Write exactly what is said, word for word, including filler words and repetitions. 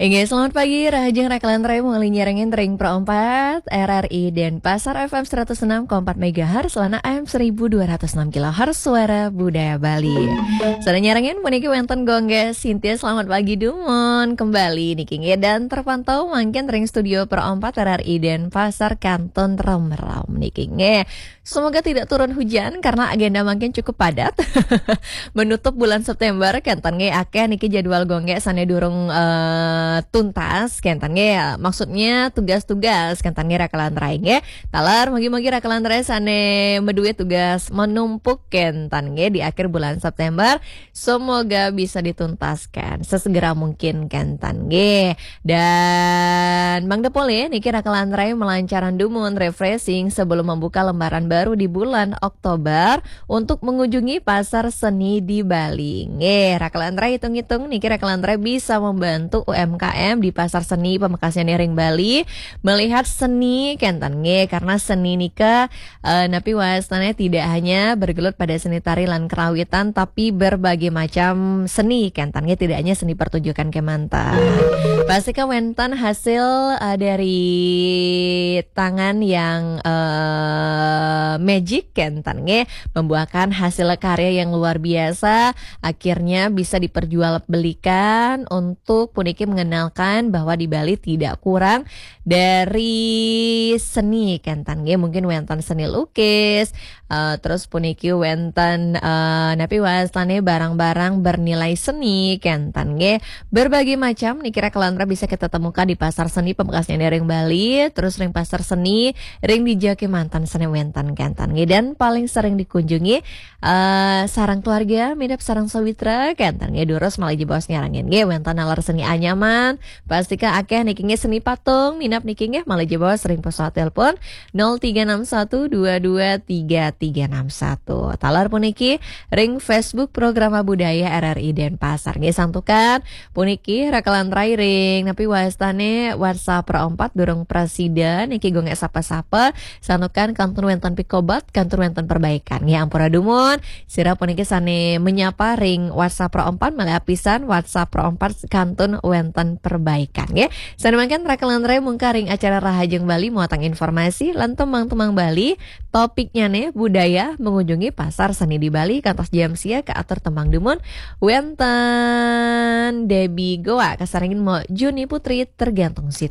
Inggih, selamat pagi, rahajeng Raka lan Rai, malih nyarengin ring Pro empat, R R I Denpasar F M seratus enam koma empat megahertz, lan A M seribu dua ratus enam kilohertz, Suara Budaya Bali. Sané nyarengin puniki wénten Gung Gé Sintia, selamat pagi dumun kembali niki nggih, dan terpantau mangkin ring studio Pro empat R R I Denpasar kantun remram niki nggih. Semoga tidak turun hujan karena agenda mangkin cukup padat. Menutup bulan September, kénten nggih, akéh niki jadwal Gung Gé sané durung, eh, tuntas, kénten nggih. Maksudnya tugas-tugas, kénten nggih, Raka lan Rai nggih. Taler, mugi-mugi Raka lan Rai sané madué tugas menumpuk, kénten nggih, di akhir bulan September. Semoga bisa dituntaskan sesegera mungkin, kénten nggih. Dan mangda polih niki Raka lan Rai malancaran dumun refreshing sebelum membuka lembaran baru di bulan Oktober untuk mengunjungi pasar seni di Bali. Nggih, Raka lan Rai hitung-hitung niki Raka lan Rai bisa membantu U M K M di pasar seni Pamekasnyané ring Bali melihat seni, kénten nggih, karena seni nika, eh, napi wastané, tidak hanya bergelut pada seni tari lan kerawitan, tapi berbagai macam seni, kénten nggih, tidak hanya seni pertunjukan kémanten. Pastika wénten hasil, eh, dari tangan yang, eh, magic, kénten nggih, membuahkan hasil karya yang luar biasa, akhirnya bisa diperjualbelikan untuk puniki mengenalkan bahwa di Bali tidak kurang dari seni, kénten nggih. Mungkin wénten seni lukis, eh, terus puniki wénten, eh, napi wastané, barang-barang bernilai seni, kénten nggih. Berbagai macam niki Raka lan Rai bisa kita temukan di pasar seni Pamekasnyané ring Bali, terus ring pasar seni ring dija kémanten sané wénten, kénten nggih. Dan paling sering dikunjungi, eh, sareng keluarga, minab sareng sawitra, kénten nggih, durus malih jebos nyarengin nggih, wénten naler seni anyaman, pastika akéh niki nggih, seni patung, minab niki nggih, malih jebos ring pesawat telepon nol tiga enam satu dua dua tiga tiga enam satu. Taler puniki ring Facebook Programa Budaya R R I Denpasar nggih, santukan puniki Raka lan Rai ring napi wastané WhatsApp Pro empat durung prasida niki Gung Gé sapa-sapa, santukan kantun wénten pikobat, kantun wénten perbaikan. Nggih, ampura dumun, sira puniki sané menyapa ring WhatsApp Pro empat, malih apisan WhatsApp Pro empat kantun wénten perbaikan nggih. Sané mangkin Raka lan Rai mungkar ring acara Rahajeng Bali muatang informasi lan tembang-tembang Bali, topiknyané budaya mengunjungi pasar seni di Bali kantos jam sia kaatur tembang dumun wénten Debbie Goa kasarengin Mo Juni Putri tergantung situasi.